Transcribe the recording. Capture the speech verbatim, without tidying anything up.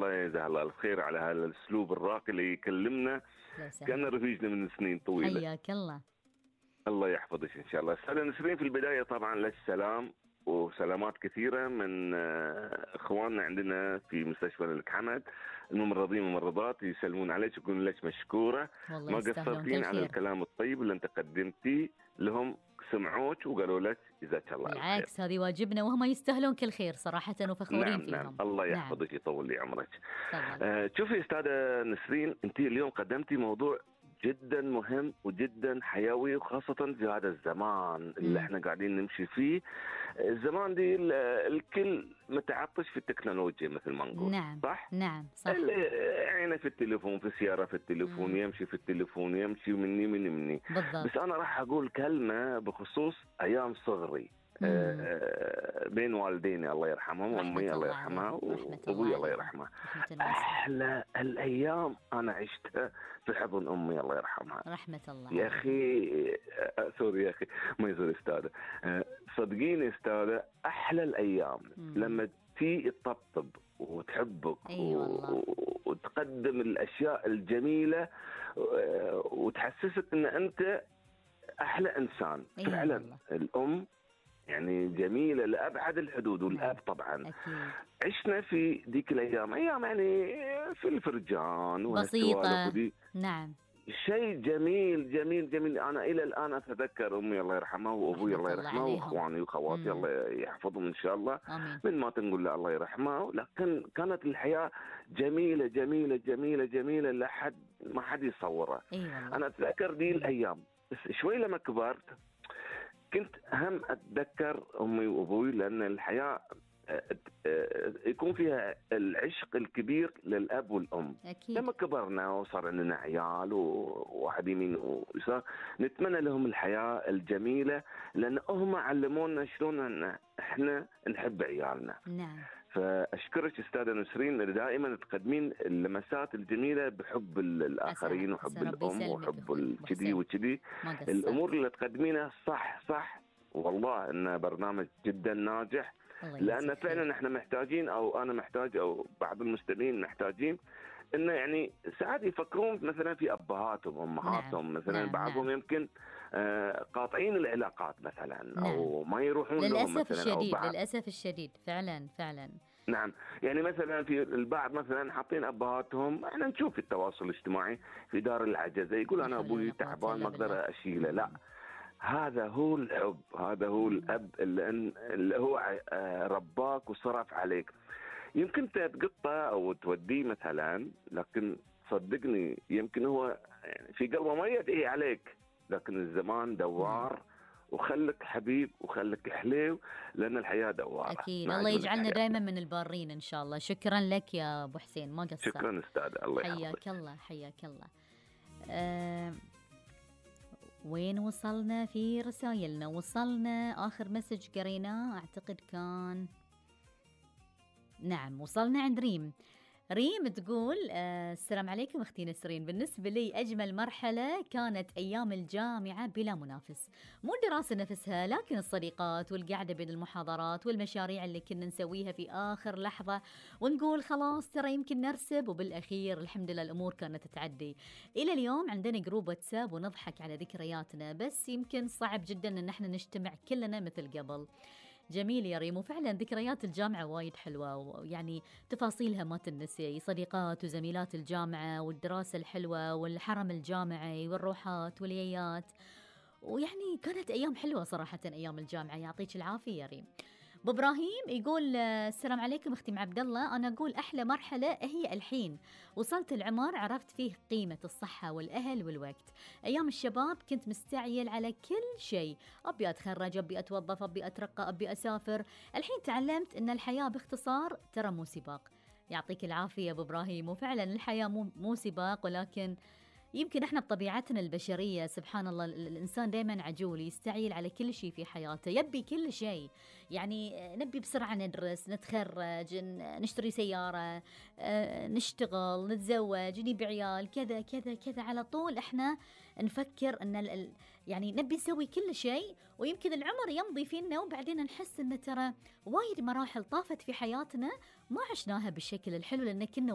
الله يجزاه الله الخير على هذا الأسلوب الراقي اللي يكلمنا كان رفيجنا من سنين طويلة. حياك الله. الله يحفظك إن شاء الله. أستاذة نسرين، في البداية طبعا لك سلام وسلامات كثيرة من إخواننا عندنا في مستشفى الملك حمد، الممرضين والممرضات يسلمون عليك ويقولون لك مشكورة، ما قصرتين على الكلام الطيب اللي أنت قدمتيه لهم، سمعوك وقالوا لك جزاك الله خير. بالعكس هذه واجبنا وهم يستاهلون كل خير صراحة وفخورين نعم فيهم. نعم الله يحفظك. نعم. يطول لي عمرك. آه شوفي أستاذة نسرين، أنت اليوم قدمتي موضوع جدا مهم وجدا حيوي، وخاصة في هذا الزمان اللي م. احنا قاعدين نمشي فيه. الزمان دي الكل متعطش في التكنولوجيا مثل ما نقول. نعم صح؟ نعم صح. عينه في التليفون، في السيارة في التليفون، م. يمشي في التليفون، يمشي مني مني مني بالضبط. بس أنا راح أقول كلمة بخصوص أيام صغري آه بين والديني الله يرحمهم، وأمي الله يرحمها وأبوي الله يرحمه. أحلى الأيام أنا عشتها في حضن أمي الله يرحمها. رحمة الله يا أخي آه سوري يا أخي ما يزور أستاذة، آه صدقيني أستاذة أحلى الأيام مم. لما تي تطبطب وتحبك أيوة وتقدم الأشياء الجميلة وتحسسك أن أنت أحلى إنسان. أيوة فعلا الله. الأم يعني جميلة لأبعد الحدود، والأب طبعا أكيد. عشنا في ديك الأيام أيام يعني في الفرجان بسيطة. نعم شيء جميل جميل جميل. أنا إلى الآن أتذكر أمي الله يرحمها وأبوي الله يرحمه وأخواني وخواتي الله يحفظهم إن شاء الله. آمين. من ما تنقول له الله يرحمه، لكن كانت الحياة جميلة جميلة جميلة جميلة لحد ما حد يصورها. أيوة. أنا أتذكر دي الأيام، بس شوي لما كبرت كنت هم أتذكر أمي وأبوي، لأن الحياة يكون فيها العشق الكبير للأب والأم. أكيد. لما كبرنا وصار عندنا عيال وواحد يمين ويسار، نتمنى لهم الحياة الجميلة، لأن هم علمونا شلون أن إحنا نحب عيالنا. نعم. فأشكرك أستاذة نسرين، دائما تقدمين اللمسات الجميلة بحب الآخرين وحب الأم وحب الكذي وكذي. الأمور اللي تقدمينها صح صح، والله إنه برنامج جدا ناجح، لأن فعلا احنا محتاجين، أو أنا محتاج، أو بعض المستمعين محتاجين إنه يعني ساعات يفكرون مثلا في أبهاتهم وأمهاتهم. نعم. مثلا نعم. بعضهم نعم. يمكن آه قاطعين العلاقات مثلا. نعم. أو ما يروحون للأسف لهم مثلا الشديد. أو للأسف الشديد فعلا فعلا. نعم. يعني مثلا في البعض مثلا حاطين أبهاتهم، احنا نشوف في التواصل الاجتماعي في دار العجزة يقول أنا أبوي تعبان ما أقدر أشيله. لا، هذا هو الحب، هذا هو الأب اللي, اللي هو رباك وصرف عليك. يمكن تقطه أو توديه مثلا، لكن صدقني يمكن هو يعني في قلبه ما يدعي عليك، لكن الزمان دوار، وخلك حبيب وخلك حليو، لأن الحياة دوارة. أكيد. الله يجعلنا دائما من البارين إن شاء الله. شكرا لك يا أبو حسين، ما قصرت. شكرا أستاذ، الله يحفظك. حياك الله حياك الله. أه وين وصلنا في رسائلنا؟ وصلنا آخر مسج قريناه أعتقد كان، نعم وصلنا عند ريم. ريم تقول آه السلام عليكم أختي نسرين، بالنسبة لي أجمل مرحلة كانت أيام الجامعة بلا منافس، مو الدراسة نفسها لكن الصديقات والقعدة بين المحاضرات والمشاريع اللي كنا نسويها في آخر لحظة ونقول خلاص ترى يمكن نرسب، وبالأخير الحمد لله الأمور كانت تعدي. إلى اليوم عندنا جروب واتساب ونضحك على ذكرياتنا، بس يمكن صعب جدا أن احنا نجتمع كلنا مثل قبل. جميل يا ريم، وفعلا ذكريات الجامعة وايد حلوة، ويعني تفاصيلها ما تنسي، صديقات وزميلات الجامعة والدراسة الحلوة والحرم الجامعي والروحات واليايات، ويعني كانت أيام حلوة صراحة أيام الجامعة. يعطيك العافية يا ريم. أبو إبراهيم يقول السلام عليكم أختي عبد الله، أنا أقول أحلى مرحلة هي الحين، وصلت العمر عرفت فيه قيمة الصحة والأهل والوقت. أيام الشباب كنت مستعجل على كل شيء، أبي أتخرج، أبي أتوظف، أبي أترقى، أبي أسافر. الحين تعلمت أن الحياة باختصار ترى مو سباق. يعطيك العافية يا أبو إبراهيم، وفعلا الحياة مو, مو سباق، ولكن يمكن احنا بطبيعتنا البشرية سبحان الله الإنسان دائما عجول، يستعجل على كل شيء في حياته، يبي كل شيء، يعني نبي بسرعة ندرس، نتخرج، نشتري سيارة، نشتغل، نتزوج، نبي عيال، كذا كذا كذا، على طول احنا نفكر ان يعني نبي نسوي كل شيء، ويمكن العمر يمضي فينا وبعدين نحس ان ترى وايد مراحل طافت في حياتنا ما عشناها بالشكل الحلو، لأن كنا